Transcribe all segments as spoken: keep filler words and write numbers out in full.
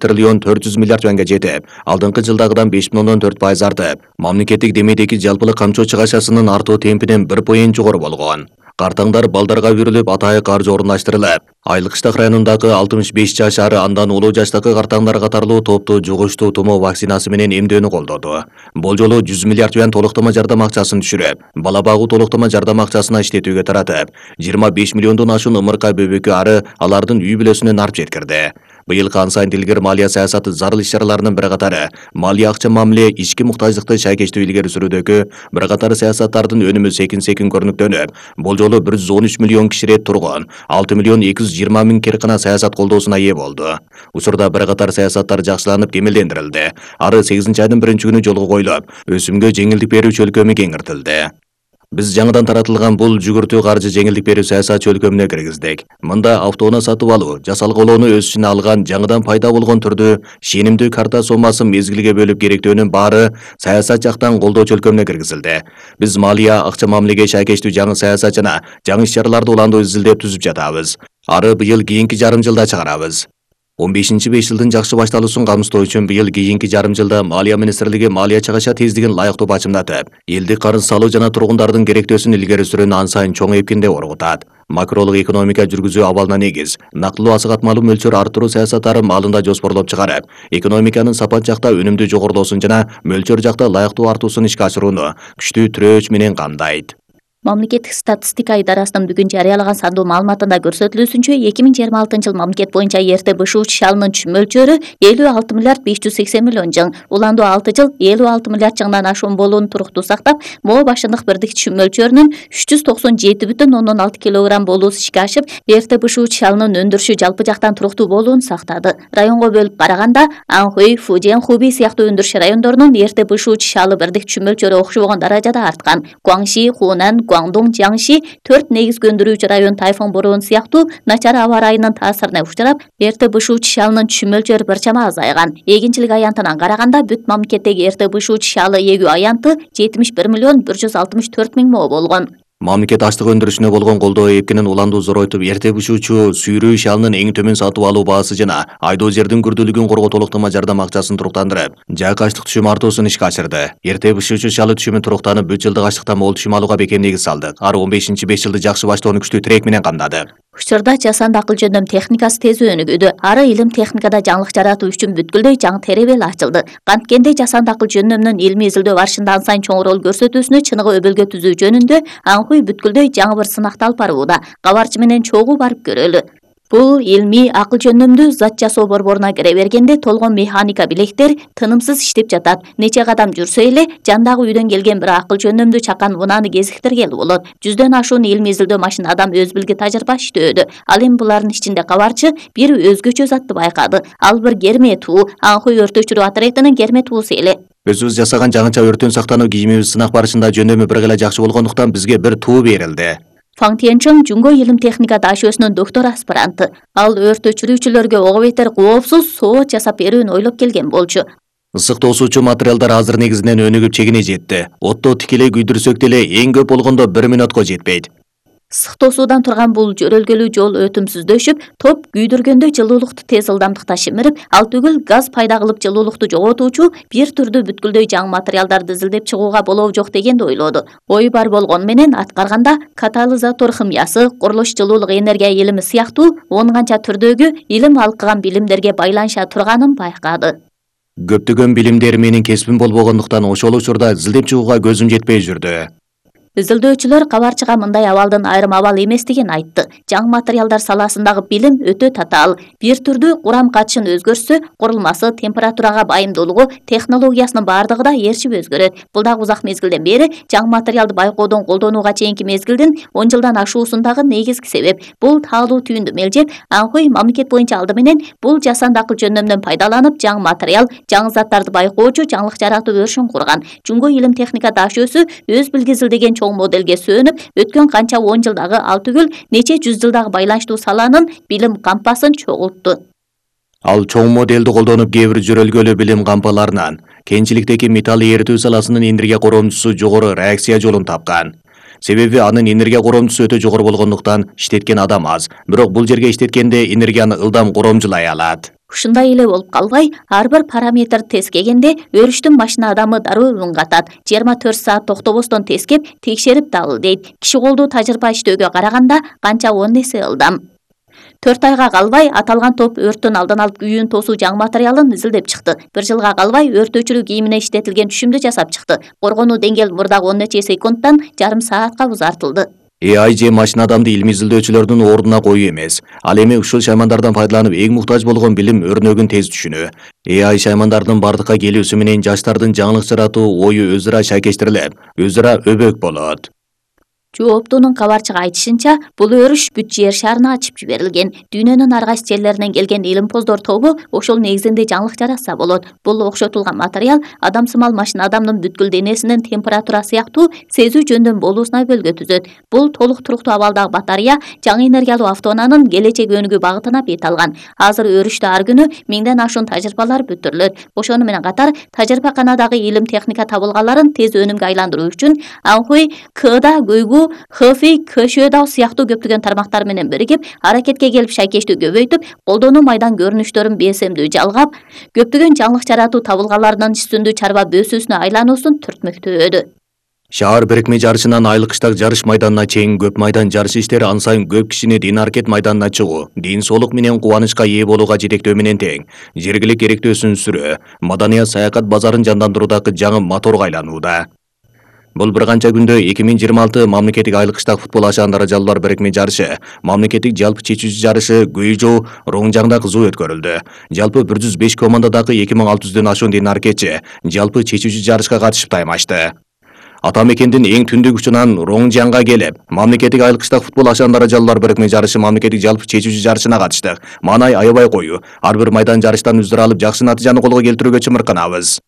триллион төрт жүз миллиард юанга жетип, алдыңкы жылдагыдан беш бүтүн ондон төрт пайыз артып, мамлекеттик демейдеги жалпылык камчоо чыгашасынын артуу темпинен бир поинт жогору болгон. Картаңдар балдарга бүрүлүп атайык каржы орундаштырылып, Айлыкыштак районундагы алтымыш беш жаш ары андан улуу жаштагы картаңдар катарлуу топту жугуштуу тумоо вакцинасы менен эмдөөнү колдоду. Бул жолу жүз миллиард юан толуктама жардам акчасын түшүрүп, бала багуу толуктама жардам акчасына иштетүүгө таратып, жыйырма беш миллиондон ашуун ымырка бөбөккө ары алардын үй бүлөсүнө нарп жеткирди. Быйыл ан сайын илгери малия саясаты зарыл иш-чараларынын бир катары малия акча мамиле ички муктаждыкты шайкештүү илгери сүрүүдөгү бир катар саясаттардын өнүмү секин-секин көрүнүктөнүп, бул жолу бир жүз он үч миллион кишире тургун алты миллион эки жүз жыйырма миң керкана саясат колдоосуна ээ болду. Учурда бир катар саясаттар жакшыланып кемелдендирилди. Ары сегизинчи айдын биринчи күнү жолго коюлуп, өсүмгө жеңилдик берүү чөлкөмү кеңиртилди. Биз жаңыдан таратылган бул жүгүртүү каржы жеңилдик берүү саясат чөлкөмүнө киргиздик. Мында автоунаа сатып алуу, жасалгалоону өз ичине алган жаңыдан пайда болгон түрдүү шенимдүү карта сомасын мезгилге бөлүп керектөөнүн баары саясат жактан колдоо чөлкөмүнө киргизилди. Биз малия акча мамилеге шайкештүү жаңы саясат жана жаңы иш-чараларды уландуу изилдеп түзүп жатабыз. Ары быйыл кийинки жарым жылда чыгарабыз. он бешинчи беш жылдын жакшы башталуусун камсыздоо үчүн быйыл кийинки жарым жылда Малия министрлиги малия чыгаша тездигин ылайыктуу бачымдатып, элдик карыз салуу жана тургундардын керектөөсүн илгери сүрүүнү ан сайын чоң эпкинде оргутат. Макролук экономика жүргүзүү абалына негиз, нактылуу асыгатмалуу мөлчөр арттыруу саясаттары маалында жоспорлоп чыгарып, экономиканын сапат жакта өнүмдүү жогорулоосун жана мөлчөр жакта ылайыктуу артуусун ишке ашырууну күчтүү тирөөч менен камдайт. Мамлекеттик статистика идарасынын бүгүн жарыялаган сандуу маалыматында көрсөтүлүүсүнчө эки миң жыйырма алтынчы жыл мамлекет боюнча эрте бышуу чалынын мөлчөрү элүү алты миллиард беш жүз сексен миллион жың, уландуу алты жыл элүү алты миллиард жыңдан ашуун болууну туруктуу сактап, моо башындык бирдик мөлчөрүнүн үч жүз токсон жети бүтүн ондон алты килограмм болуусу ишке ашып, эрте бышуу чалынын өндүрүшү жалпы жактан туруктуу болууну сактады. Районго бөлүп караганда, Анхуй, Фуден, Хуби сыяктуу өндүрүш райондорунун эрте бышуу чалы бирдик мөлчөрү окшобогон даражада арткан. Гуаңши, Хунан, Гуаңдун, Жаңши төрт негизги өндүрүүчү район тайфун бороону сыяктуу начар аба ырайынын таасирине учурап, эрте бышуу чалынын мөлчөрү бир чама азайган. Эгинчилик аянтынан караганда бүт мамлекеттеги эрте бышуу чалы эгүү аянты жетимиш бир миллион бир жүз алтымыш төрт миң мо болгон. Мамлекет аштык өндүрүшүнө болгон колдоо эпкинин уландуу зоройтуп, эрте бышуучу сүйрүү шалынын эң төмөн сатып алуу баасы жана айдоо жердин күрдүүлүгүн коргоо толуктама жардам акчасын туруктандырып, жаак аштык түшүм артуусун ишке ашырды. Эрте бышуучу чалы түшүмү туруктанып, бүт жылдык аштыктан мол түшүм алууга бекем негиз салдык. Ары он бешинчи беш жылды жакшы баштоону күчтүү тирек менен камдады. Учурда жасанды акыл жөндөм техникасы тез өнүгүүдө. Ары илим техникада жаңылык жаратуу үчүн бүткүлдөй жаңы теребел ачылды. Канткенде жасанды акыл жөндөмүнүн илимий изилдөө барышында ан сайын чоң роль көрсөтүүсүнө чыныгы өбөлгө түзүү жөнүндө Анхуй бүткүлдөй жаңы бир сынакты алып барууда. Кабарчы менен чогуу барып көрөлү. Бул илмий акыл жөндөмдүү зат жасоо борборуна кире бергенде толгон механика билектер тынымсыз иштеп жатат. Нече кадам жүрсө эле жандагы үйдөн келген бир акыл жөндөмдүү чакан унааны кезиктиргели болот. Жүздөн ашуун илмий изилдөө машина адам өз билги тажрыйба иштөөдө. Ал эми булардын ичинде кабарчы бир өзгөчө затты байкады. Ал бир керме туу, Анхуй өрт өчүрүү отрядынын керме туусу эле. Өзүбүз жасаган жаңыча өрттөн сактануу кийимибиз сынак барышында жөндөмү бир гана жакшы болгондуктан бизге бир туу берилди. Фаң Тиенчон Жунго илим техника дашөөсүнүн доктор аспиранты. Ал өрт өчүрүүчүлөргө ого бетер коопсуз соот жасап берүүнү ойлоп келген болчу. Ысык тосуучу материалдар азыр негизинен өнүгүп чегине жетти. Отто тикелей күйдүрсөк деле эң көп болгондо бир мүнөткө жетпейт. Ысык тосуудан турган бул жөрөлгөлүү жол өтүмсүздөшүп, топ күйдүргөндө жылуулукту тез ылдамдыкта шимирип, ал түгүл газ пайда кылып жылуулукту жоготуучу бир түрдүү бүткүлдөй жаңы материалдарды изилдеп чыгууга болобу жок дегенди ойлоду. Ой бар болгону менен аткарганда катализатор химиясы, курулуш жылуулук энергия илими сыяктуу он канча түрдөгү илим алкыган билимдерге байланыша турганын байкады. Көптөгөн билимдер менин кесибим болбогондуктан ошол учурда изилдеп чыгууга көзүм жетпей жүрдү. Изилдөөчүлөр кабарчыга мындай абалдын айрым абал эместигин айтты. Жаңы материалдар саласындагы билим өтө татаал. Бир түрдүү курам катышын өзгөртсө, курулмасы, температурага байымдуулугу, технологиясынын бардыгы да ээрчип өзгөрөт. Бул дагы узак мезгилден бери жаңы материалды байкоодон колдонууга чейинки мезгилдин он жылдан ашуусундагы негизги себеп. Бул таалуу түйүндү мелжеп, Анхуй мамлекет боюнча алды менен бул жасанды акыл жөндөмдөн пайдаланып, жаңы материал, жаңы заттарды байкоочу жаңылык жаратуу өрүшүн курган. Жунго илим техника дашөөсү өз билги изилдеген чоң моделге сөөнүп, өткөн канча он жылдагы ал түгүл нече жүз жылдагы байланыштуу саланын билим кампасын чогултту. Ал чоң моделди колдонуп кээ бир жөрөлгөлүү билим кампаларынан кенчиликтеги металл эритүү саласынын энергия коромчусу жогору реакция жолун тапкан. Себеби анын энергия коромчусу өтө жогору болгондуктан иштеткен адам аз, бирок бул жерге иштеткенде энергияны ылдам коромжулай алат. Ушундай эле болуп калбай, ар бир параметр тескегенде өрүштүн башына адамы дароо үн катат. жыйырма төрт саат токтобостон тескеп, текшерип дал дейт. Киши колдуу тажрыйба иштөөгө караганда канча он эсе ылдам. төрт айга калбай аталган топ өрттүн алдын алып күйүүн тосуу жаңы материалын изилдеп чыкты. бир жылга калбай өртөөчүлүк кийимине иштетилген түшүмдү жасап чыкты. Коргонуу деңгээл мурдагы он нече секундтан жарым саатка узартылды. A I же машина адамды илимий изилдөөчүлөрдүн ордуна коюу эмес. Ал эми ушул шаймандардан пайдаланып эң муктаж болгон билим өрнөгүн тез түшүнүү. A I шаймандардын бардыкка келүүсү менен жаштардын жаңылык жаратуу ою өз ара шайкештирилип, өз ара өбөк болот. Жооптуунун кабарчыга айтышынча, бул өрүш бүт жер шарына ачып жиберилген. Дүйнөнүн ар кайсы жерлеринен келген илимпоздор тобу ошол негизинде жаңылык жаратса болот. Бул окшотулган материал адамсымал машина адамдын бүткүл денесинин температура сыяктуу сезүү жөндөн болуусуна бөлгө түзөт. Бул толук туруктуу абалдагы батарея жаңы энергиялуу автоунаанын келечек өнүгүү багытына бет алган. Азыр өрүштө ар күнү миңден ашуун тажрыйбалар бүтүрүлөт. Ошону менен катар тажрыйбаканадагы илим техника табылгаларын тез өнүмгө айландыруу үчүн Анхуй, Кда, Гуйгу, Хэфэй, Кшөдау сыяктуу көптөгөн тармактар менен биригип, аракетке келип шайкештүү көбөйтүп, колдонуу майдан көрүнүштөрүн бесемдүү жалгап, көптөгөн жаңылык жаратуу табылгаларынын үстүндүү чарба бөөсүүсүнө айлануусун түртмөктөөдү. Шаар бирикме жарышынан айлык кыштак жарыш майданына чейин көп майдан жарыш иштери ан сайын көп кишини дин аракет майданына чыгуу, дин соолук менен кубанычка ээ болууга жетектөө менен тең. Жергилик керектөөсүн сүрөө, маданият саякат базарын жандандыруудагы жаңы моторго айланууда. Бул бир канча күндө эки миң жыйырма алты мамлекеттик айлык кыштак футбол ашаан даражалуулар бирикме жарышы, мамлекеттик жалпы чечүүчү жарышы Гуйжоу Роңжаңда кызуу өткөрүлдү. Жалпы бир жүз беш командадагы эки миң алты жүздөн ашуун дин аракетчи жалпы чечүүчү жарышка катышып таймашты. Ата мекендин эң түндүк учунан Роңжаңга келип, мамлекеттик айлык кыштак футбол ашаан даражалуулар бирикме жарышы мамлекеттик жалпы чечүүчү жарышына катыштык. Маанай аябай кою. Ар бир майдан жарыштан үздүр алып, жакшы натыйжаны колго келтирүүгө чымырканабыз.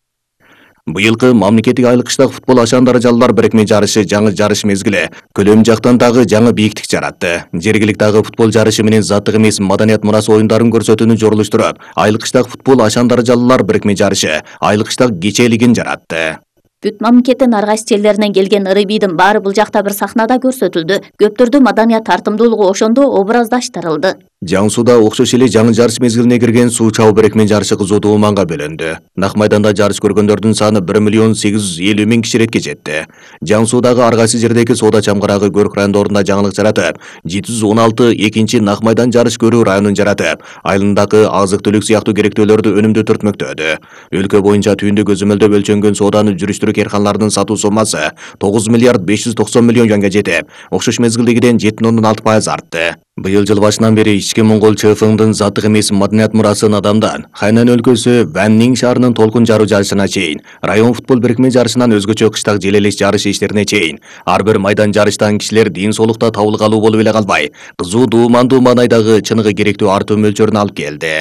Быйылкы мамлекеттик айлык кыштак футбол ашаан даражалуулар бирикме жарышы жаңы жарыш мезгили көлөм жактан дагы жаңы бийиктик жаратты. Жергиликтагы футбол жарышы менен заттык эмес маданият мурасы оюндарын көрсөтүүнү жорулуштуруп, айлык кыштак футбол ашаан даражалуулар бирикме жарышы айлык кыштак кечээлигин жаратты. Бүт мамлекеттин ар кайсы жерлеринен келген ырыбийдин баары бул жакта бир сахнада көрсөтүлдү. Көптөрдүн маданият тартымдуулугу ошондо образдаштырылды. Жаңысууда окшош эле жаңы жарыш мезгилине кирген суу чабуу бирикме жарышы кызуу маанга бөлөндү. Нак майданда жарыш көргөндөрдүн саны бир миллион сегиз жүз элүү миң киширетке жетти. Жаңысуудагы ар кайсы жердеги соода чамгарагы көрк райондорунда жаңылык жаратып, жети жүз он алты экинчи нак майдан жарыш көрүү районун жаратып, айылындагы азык түлүк сыяктуу керектөөлөрдү өнүмдүү түртмөктөөдү. Өлкө боюнча түйүндү көзөмөлдөп өлчөнгөн сооданы жүрүштүрүү керканалардын сатуу соммасы тогуз миллиард беш жүз токсон миллион юанга жетип, окшош мезгилдегиден жети бүтүн ондон алты пайыз артты. Быйыл жыл башынан бери ички Моңгол ЧФңдын заттык эмес маданият мурасын адамдан Хайнан өлкөсү Вэннин шаарынын толкун жаруу жарышына чейин, район футбол бирикме жарышынан өзгөчө кыштак желелеш жарыш иштерине чейин, ар бир майдан жарыштан кишилер дин соолукта табылгалуу болуп эле калбай, кызуу дуумандуу маанайдагы чыныгы керектүү артуу мөлчөрүн алып келди.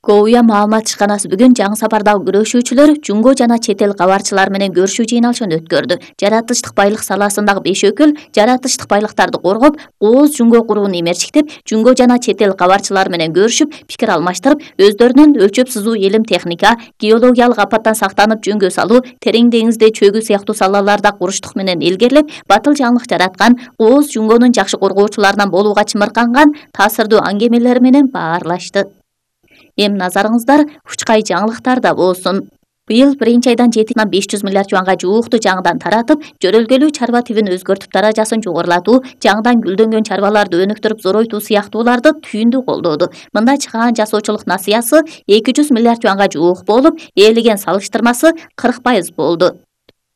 Коуя маалымат ишканасы бүгүн жаңы сапардагы күрөшүүчүлөр жунго жана чет эл кабарчылар менен көрүшүү жыйналышын өткөрдү. Жаратылыштык байлык саласындагы беш өкүл жаратылыштык байлыктарды коргоп, кооз жунго курууну эмерчиктеп, жунго жана чет эл кабарчылар менен көрүшүп, пикир алмаштырып, өздөрүнүн өлчөп сызуу илим техника, геологиялык апаттан сактанып жөнгө салуу, терең деңизде чөгүү сыяктуу салаларда куруштук менен илгерлеп, батыл жаңылык жараткан, кооз жунгонун жакшы коргоочуларынан болууга чымырканган таасирдүү аңгемелери менен баарлашты. Эми назарыңыздар учкай жаңылыктарда болсун. Быйыл биринчи айдан жети миң беш жүз миллиард юанга жуукту жаңыдан таратып, жөрөлгөлүү чарба тибин өзгөртүп даражасын жогорулатуу, жаңыдан гүлдөнгөн чарбаларды өнүктүрүп зоройтуу сыяктууларды түйүндүү колдоду. Мында чыгаан жасоочулук насыясы эки жүз миллиард юанга жуук болуп, ээлеген салыштырмасы кырк пайыз болду.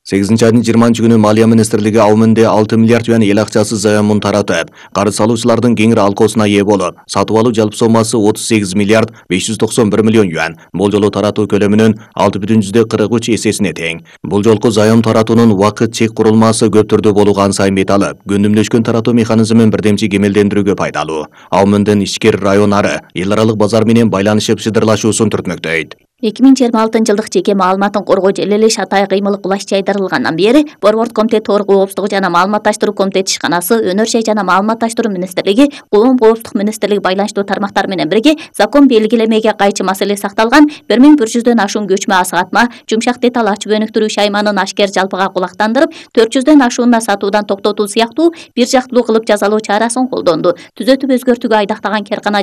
сегизинчи айдын жыйырманчы күнү Малия министрлиги Аумунде алты миллиард юан эл акчасы заемун таратып, карыз салуучулардын кеңири алкоосуна ээ болуп, сатып алуу жалпы соммасы отуз сегиз миллиард беш жүз токсон бир миллион юан, бул жолу таратуу көлөмүнүн алты бүтүн жүздөн кырк үч эсесине тең. Бул жолку заем таратуунун убакыт чек курулмасы көп түрдүү болууга ан сайын бет алып, күндүмдөшкөн таратуу механизмин бирдемчи кемелдендирүүгө пайдалуу. Аумундун ичкер районары эл аралык базар менен байланышып шыдырлашуусун түртмөктөйт. эки миң жыйырма алтынчы жылдык жеке маалыматын коргоо желелеш атай кыймылы кулаш жайдырылгандан бери Борбордук комитет Торг коопсуздугу жана маалыматташтыруу комитети ишканасы, Өнөр жай жана маалыматташтыруу министрлиги, Коом коопсуздук министрлиги байланыштуу тармактар менен бирге закон белгилемеге кайчы маселе сакталган бир миң бир жүздөн ашуун көчмө асыгатма, жумшак деталь ачып өнүктүрүү шайманын ашкер жалпыга кулактандырып, төрт жүздөн ашуунда сатуудан токтотуу сыяктуу бир жактылуу кылып жазалоо чарасын колдонду. Түзөтүп өзгөртүүгө айдактаган керкана